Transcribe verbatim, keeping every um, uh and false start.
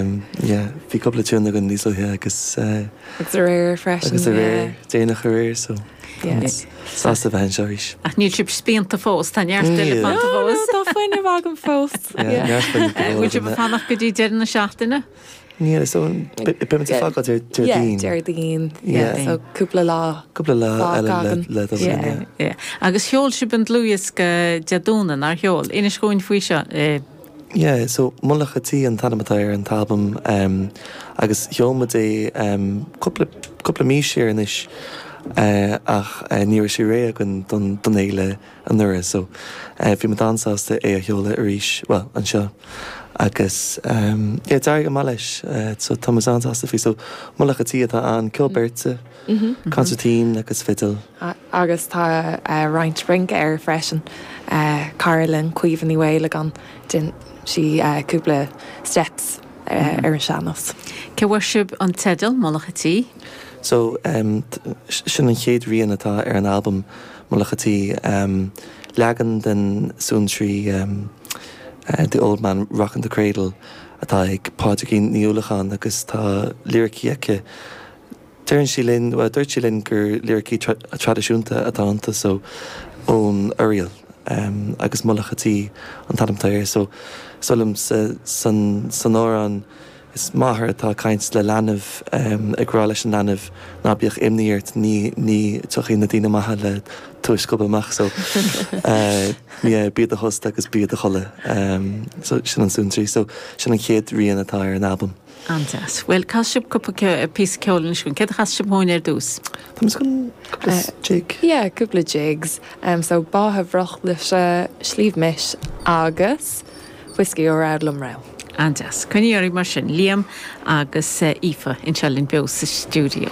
Um, yeah, bhí cúpla tune againn níos luaithe agus uh, Agus aréir freisin. agus aréir déanach aréir so Yeah. sásta bheith anseo arís. Ach níl sibh spíonta fós, tá neart eile Níl. fanta No, no, fós. tá fuinneamh agam fós. Yeah, neart fuinneamh go Bhfuil sibh leor ag fanacht go dtí deireadh na seachtaine? Níl so beimid ag fágáil Yeah, Déardaoin. Déardaoin. Yeah. So cúpla lá. Cúpla lá Fág eile le againn. le dul Yeah. yeah. Yeah. Agus sheol sibh an dlúthdhiosca Dé Domhnaigh nár sheol. Inis dúinn faoi seo. eh, Yeah, so Mullach an Tí an t-ainm atá ar an t-albam um, agus sheol muid é um, cúpla cúpla mí siar anois uh, ach uh, ní raibh sé réidh againn don don fhéile anuraidh so uh, bhí muid an-sásta é a sheoladh arís well anseo agus um, yeah, d'éirigh go maith leis uh, so tá muid an-sásta faoi so Mullach an Tí atá ann ceol beirte consairtín agus fidil. A- Agus tá uh, roinnt rince air freisin. Uh, Cara linn Caoimhe Ní Mhaolagáin dhein sí uh, cúpla steps uh, ar an sean-nós. Cá bhfuair sibh an teideal Mullach an Tí? So um, t- sin an chéad rian atá ar an albam Mullach an Tí um, leagan den suantraí um, uh, The Old Man Rocking the Cradle atá ag Pádraigín Ní Uallacháin agus tá liricí aici. Deireann sí linn well, dúirt sí linn gur liricí tra traidisiúnta atá iontu so ón Oiriall um, agus Mullach an Tí an t-ainm atá air so solam sa san san amhrán is máthair atá ag caint le leanbh um, ag rá leis an leanbh ná bíodh imní ort ní ní tiocfaidh na daoine maithe le tú a scuabadh amach so uh, yeah, bí i do thost agus bí i do chodladh um, so sin an suantraí so sin an chéad rian atá ar an albam. An-deas. Well cas sibh cúpla píosa ceoil anois dúinn, Céard a chas sibh dúinn ar dtús. Tá chun Uh, jig. Yeah, cúpla jigs. Um, so Bátha Bhrochluise Sliabh Mis agus Whiskey ó Rad Lumrá. An-deas. Coinníorí mar sin Liam agus uh, Aoife anseo linn beo sa stiúideo.